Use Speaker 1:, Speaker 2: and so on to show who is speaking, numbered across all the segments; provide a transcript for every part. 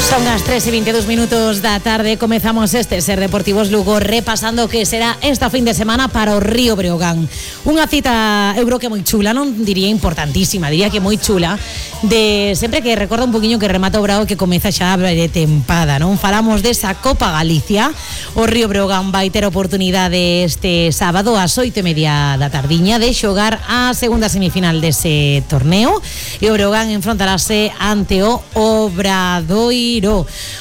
Speaker 1: Son as 3:22 da tarde. Comezamos este Ser Deportivos Lugo repasando o que será esta fin de semana para o Río Breogán. Unha cita, eu creo que moi chula, non diría importantísima, diría que moi chula, de sempre que recorda un poquinho que remata o Brao que comeza xa a tempada, non? Falamos desa Copa Galicia. O Río Breogán vai ter a oportunidade este sábado ás 8:30 da tardiña de xogar a segunda semifinal dese torneo e o Breogán enfrontarase ante o Obradoiro.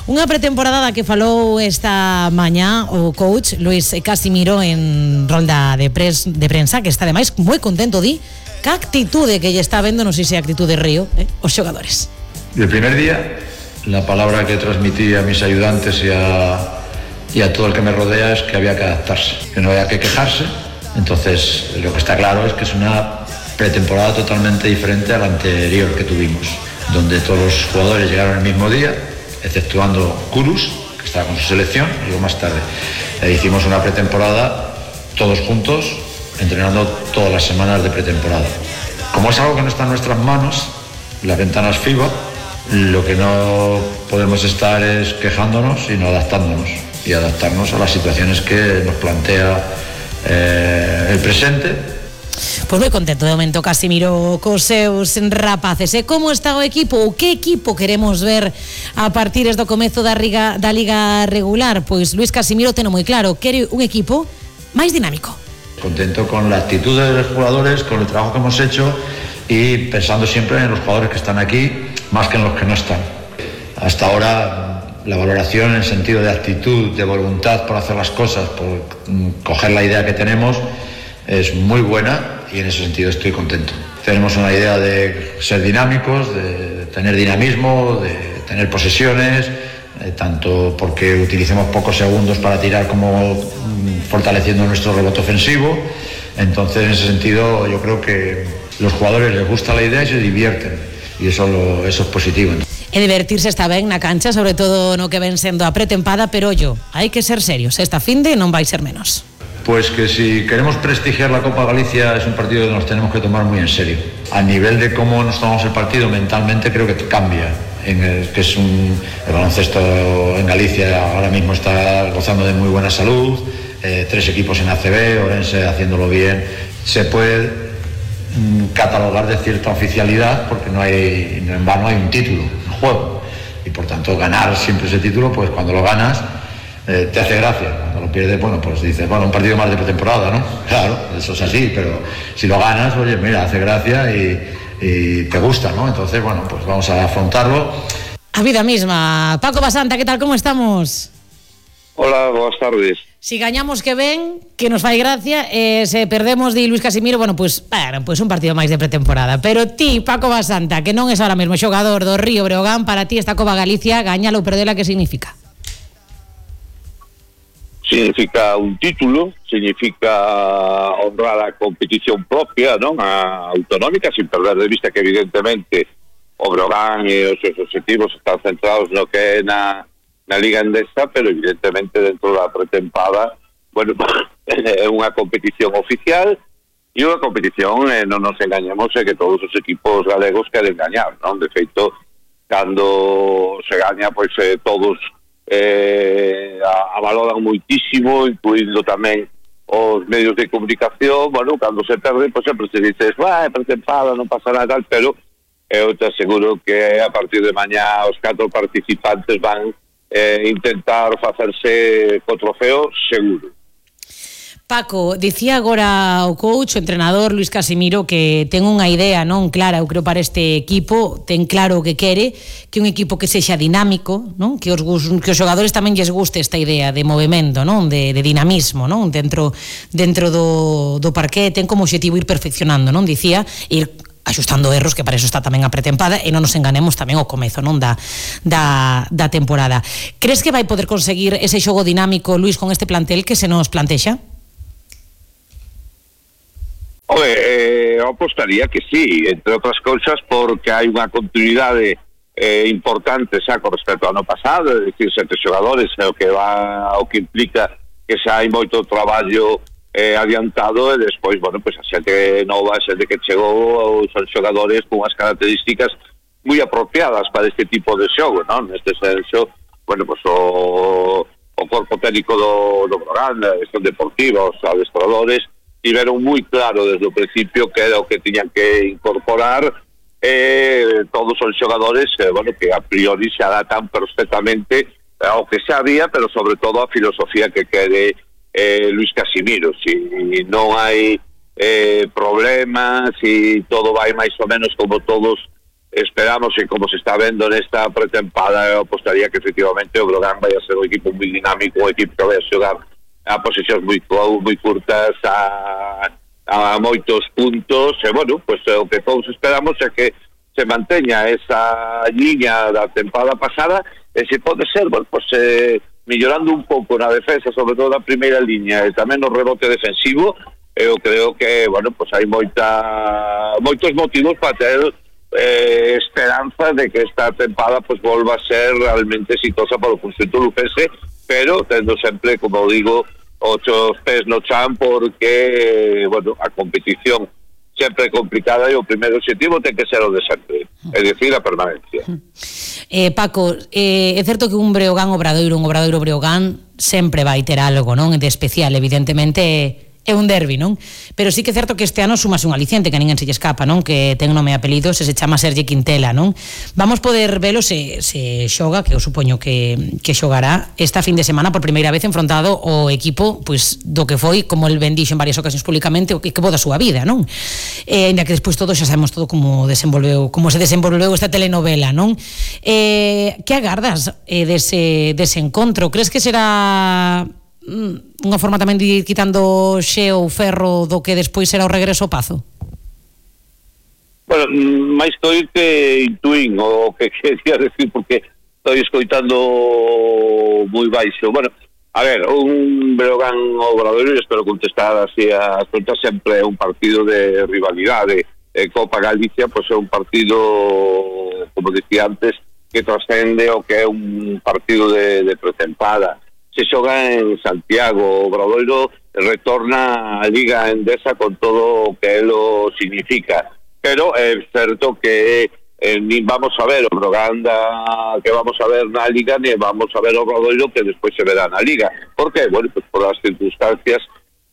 Speaker 1: Unha pretemporada da que falou esta mañá o coach Luís Casimiro en rolda de prensa, que está ademais moi contento, di, que actitude que lle está vendo, non sei se actitude Río, os xogadores.
Speaker 2: El primer día, la palabra que transmití a mis ayudantes y a todo el que me rodea es que había que adaptarse, que no había que quejarse. Entonces, lo que está claro es que es una pretemporada totalmente diferente a la anterior que tuvimos, donde todos los jugadores llegaron el mismo día, exceptuando Kurus, que estaba con su selección, y luego más tarde. Hicimos una pretemporada todos juntos, entrenando todas las semanas de pretemporada. Como es algo que no está en nuestras manos, las ventanas FIBA, lo que no podemos estar es quejándonos, sino adaptándonos, y adaptarnos a las situaciones que nos plantea el presente.
Speaker 1: Pois moi contento de momento Casimiro cos seus rapaces. E como está o equipo? O que equipo queremos ver a partir do comezo da Liga regular? Pois Luís Casimiro teno moi claro, quere un equipo máis dinámico.
Speaker 2: Contento con la actitud de los jugadores, con el trabajo que hemos hecho y pensando siempre en los jugadores que están aquí más que en los que no están. Hasta ahora la valoración en el sentido de actitud, de voluntad por hacer las cosas, por coger la idea que tenemos, es muy buena y en ese sentido estoy contento. Tenemos una idea de ser dinámicos, de tener dinamismo, de tener posesiones, tanto porque utilicemos pocos segundos para tirar como fortaleciendo nuestro rebote ofensivo. Entonces en ese sentido yo creo que los jugadores les gusta la idea y se divierten y eso es positivo.
Speaker 1: E divertirse está ben na cancha, sobre todo no que ven sendo a pretempada, pero ollo, hai que ser serios, esta finde non vai ser menos.
Speaker 2: Pues que si queremos prestigiar la Copa Galicia es un partido que nos tenemos que tomar muy en serio. A nivel de cómo nos tomamos el partido mentalmente creo que cambia. El baloncesto en Galicia ahora mismo está gozando de muy buena salud, 3 equipos en ACB, Orense haciéndolo bien. Se puede catalogar de cierta oficialidad porque en vano hay un título en juego y por tanto ganar siempre ese título, pues cuando lo ganas te hace gracia. Cuando lo pierdes, bueno, pues dices, bueno, un partido más de pretemporada, ¿no? Claro, eso es así, pero si lo ganas, oye, mira, hace gracia y te gusta, ¿no? Entonces, bueno, pues vamos a afrontarlo.
Speaker 1: A vida misma. Paco Basanta, ¿qué tal? ¿Cómo estamos?
Speaker 3: Hola, boas tardes.
Speaker 1: Si gañamos que ven, que nos fai gracia, se perdemos de Luís Casimiro, bueno, pues un partido máis de pretemporada. Pero ti, Paco Basanta, que non es ahora mesmo xogador do Río Breogán, para ti esta Copa Galicia, gañala ou perdela, que significa?
Speaker 3: Significa un título, significa honrar a competición propia, non? A autonómica, sin perder de vista que evidentemente o Breogán e os seus objetivos están centrados no que é na Liga Endesa, pero evidentemente dentro da pretempada, bueno, é unha competición oficial e unha competición, non nos engañemos, é que todos os equipos galegos queren gañar, non? De feito, cando se gaña, pois todos valoran moitísimo, incluindo tamén os medios de comunicación. Bueno, cando se perde, pois sempre se dices, pretempada, non pasa nada, tal, pero eu te aseguro que a partir de mañá os 4 participantes van intentar facerse co trofeo seguro.
Speaker 1: Paco, dicía agora o coach, o entrenador Luís Casimiro, que ten unha idea non clara, eu creo, para este equipo, ten claro o que quere, que un equipo que sexa dinámico, non? Que os xogadores tamén lles guste esta idea de movemento, non? De dinamismo, non? Dentro do parqué, ten como objetivo ir perfeccionando, non? Dicía, ir axustando erros, que para eso está tamén a pretempada, e non nos enganemos tamén ao comezo, non, da temporada. Crees que vai poder conseguir ese xogo dinámico, Luís, con este plantel que se nos plantexa?
Speaker 3: Eu apostaría que sí, entre outras cousas porque hai unha continuidade importante xa con respecto ao ano pasado, é dicir, 7 xogadores, o que implica que xa hai moito traballo adiantado e despois, bueno, pues a xente nova, a xente que chegou, son xogadores con unhas características moi apropiadas para este tipo de xogo, non? Neste senso, bueno, pues o corpo técnico do Breogán, a gestión deportiva, os adestradores, tiveron moi claro desde o principio que era o que tiñan que incorporar. Todos os xogadores, bueno, que a priori se adaptan perfectamente ao que xa había, pero sobre todo a filosofía que quere Luis Casimiro. Si non hai problemas, si todo vai máis ou menos como todos esperamos e como se está vendo nesta pretempada, eu apostaría que efectivamente o Breogán vai a ser un equipo moi dinámico, un equipo que vai a xogar a posicións moi curtas, a moitos puntos, e bueno, pues o que todos esperamos é que se manteña esa liña da tempada pasada, e se pode ser, bueno, pues mellorando un pouco na defensa, sobre todo na primeira liña, e tamén no rebote defensivo, eu creo que, bueno, pues hai moitos motivos para ter esperanza de que esta tempada pues volva a ser realmente exitosa para o conxunto lucense, pero tendo sempre, como digo, os pés no chan, porque, bueno, a competición sempre é complicada e o primeiro objetivo ten que ser o de sempre, é dicir, a permanencia.
Speaker 1: Paco, é certo que un Breogán Obradoiro Breogán sempre vai ter algo, non? De especial, evidentemente é un derbi, non? Pero sí que é certo que este ano sumase un aliciente que a ninguén se lle escapa, non? Que ten nome e apelido, se chama Sergi Quintela, non? Vamos poder velo se xoga, que eu supoño que xogará esta fin de semana por primeira vez enfrontado o equipo, pois, do que foi, como el ben dixo en varias ocasións públicamente, o equipo da súa vida, non? Ainda que despois todos xa sabemos todo como se desenvolveu esta telenovela, non? Que agardas dese encontro? Crees que será unha forma tamén de ir quitando xeo ou ferro do que despois será o regreso ao Pazo?
Speaker 3: Bueno, máis que oír que intuín o que quería decir, porque estou escoitando moi baixo. Bueno, a ver, un Breogán Obradoiro, espero contestar así as preguntas, sempre é un partido de rivalidade. Copa Galicia, pois é un partido, como dicía antes, que trascende o que é un partido de pretempada. Se xoga en Santiago, o Obradoiro retorna a Liga Endesa con todo o que elo significa, pero é certo que nin vamos a ver o Breogán que vamos a ver na Liga, ni vamos a ver o Obradoiro que despois se verá na Liga. Por que? Bueno, pues por as circunstancias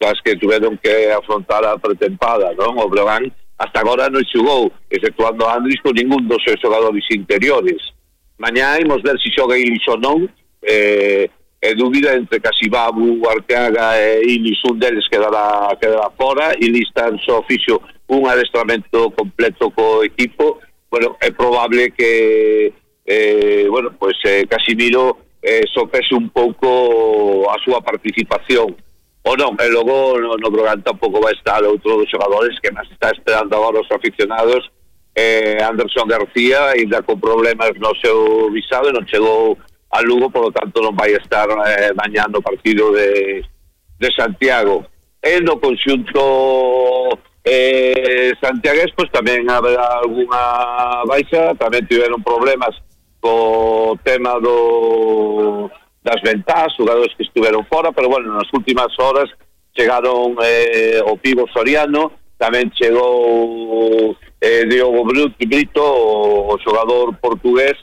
Speaker 3: das que tuveron que afrontar a pretempada, non? O Breogán hasta agora non xogou, exceptuando a Andris, con ningún dos seus xogadores interiores. Mañá imos ver se xoga Ilis ou non, é dúbida entre Casibabu, Arteaga e Ilis, un deles quedará fora. Ilis tan só fixo un adestramento completo co equipo. Bueno, é probable que bueno, pues Casimiro sopese un pouco a súa participación ou non, e logo no Breogán tampouco vai estar outro dos xogadores que máis está esperando agora os aficionados, Anderson García, ainda con problemas no seu visado, non chegou a Lugo, por lo tanto non vai estar mañá no partido de Santiago. E no conxunto santiagués, pues tamén haberá algunha baixa, tamén tiveron problemas co tema das ventás, jugadores que estiveron fora, pero bueno, nas últimas horas chegaron o Pivo Soriano, tamén chegou Diogo Brito, o xogador portugués.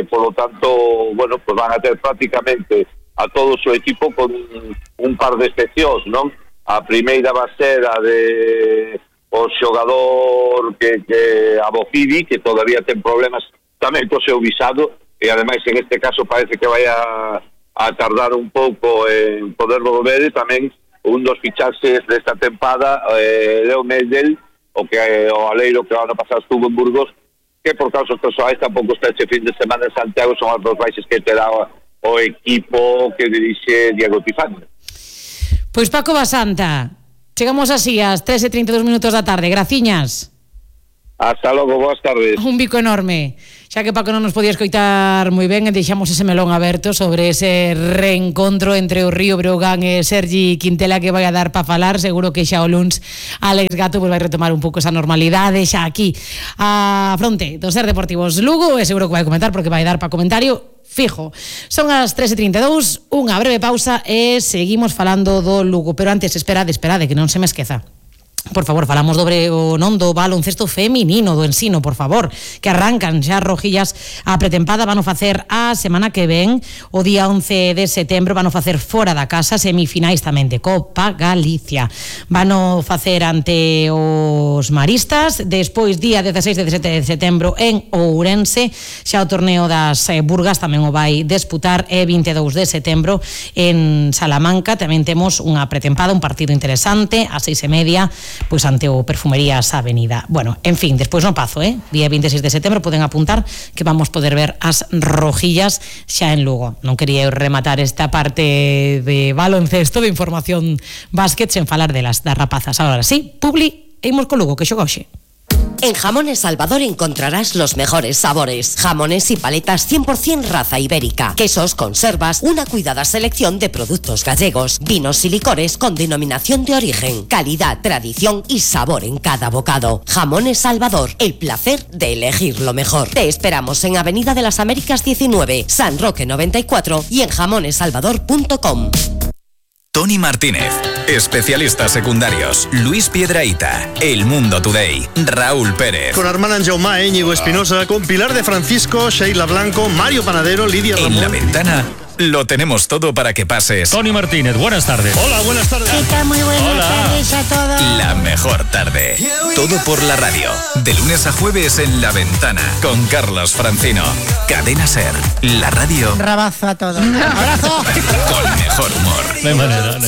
Speaker 3: Por lo tanto, bueno, pues van a ter prácticamente a todo o seu equipo con un par de excepcións, non? A primeira va a ser a de o xogador que Abofidi, que todavía ten problemas tamén co seu visado, e ademais en este caso parece que vai a tardar un pouco en poder volver. E tamén un dos fichaxes desta tempada, Leo Medel, o aleiro que o ano pasado estuvo en Burgos, que por casos persoais tampouco está este fin de semana en Santiago. Son as dos baixas que terá o equipo que dirixe Diego Tifani.
Speaker 1: Pois Paco Basanta, chegamos así ás 3:32 da tarde. Graciñas.
Speaker 3: Hasta logo, boas tardes.
Speaker 1: Un bico enorme. Xa que Paco non nos podía escoitar moi ben, deixamos ese melón aberto sobre ese reencontro entre o Río Breogán e Sergi Quintela, que vai a dar para falar. Seguro que xa o luns Alex Gato vai retomar un pouco esa normalidade xa aquí a fronte do Ser Deportivos Lugo, e seguro que vai comentar, porque vai dar para comentario fijo. Son as 3:32, unha breve pausa e seguimos falando do Lugo, pero antes esperade que non se me esqueza. Por favor, falamos non do baloncesto feminino, do ensino, por favor, que arrancan xa rojillas a pretempada, van a facer a semana que ven, o día 11 de setembro, van a facer fora da casa, semifinais tamén de Copa Galicia. Van a facer ante os maristas, despois día 16 e 17 de setembro en Ourense, xa o torneo das Burgas tamén o vai disputar, e 22 de setembro en Salamanca, tamén temos unha pretempada, un partido interesante, a 6:30, pois ante o Perfumerías Avenida. Bueno, en fin, despois no pazo, día 26 de setembro poden apuntar que vamos poder ver as rojillas xa en Lugo. Non quería rematar esta parte de baloncesto, de información básquet, sen falar das rapazas. Ahora sí, Publi, e imos con Lugo, que xoga hoxe.
Speaker 4: En Jamones Salvador encontrarás los mejores sabores. Jamones y paletas 100% raza ibérica. Quesos, conservas, una cuidada selección de productos gallegos. Vinos y licores con denominación de origen. Calidad, tradición y sabor en cada bocado. Jamones Salvador, el placer de elegir lo mejor. Te esperamos en Avenida de las Américas 19, San Roque 94 y en jamonesalvador.com.
Speaker 5: Tony Martínez, especialistas secundarios, Luis Piedrahita, El Mundo Today, Raúl Pérez.
Speaker 6: Con Armand Jaume, Íñigo Espinosa, con Pilar de Francisco, Sheila Blanco, Mario Panadero, Lidia Ramón.
Speaker 5: En La Ventana lo tenemos todo para que pases.
Speaker 7: Tony Martínez, buenas tardes.
Speaker 6: Hola, buenas tardes.
Speaker 8: ¿Qué tal? Muy buenas tardes a todos.
Speaker 5: La mejor tarde. Todo por la radio. De lunes a jueves en La Ventana. Con Carlos Francino. Cadena Ser. La radio.
Speaker 8: Un abrazo a todos. ¡Abrazo!
Speaker 5: Con mejor humor.
Speaker 7: No hay manera.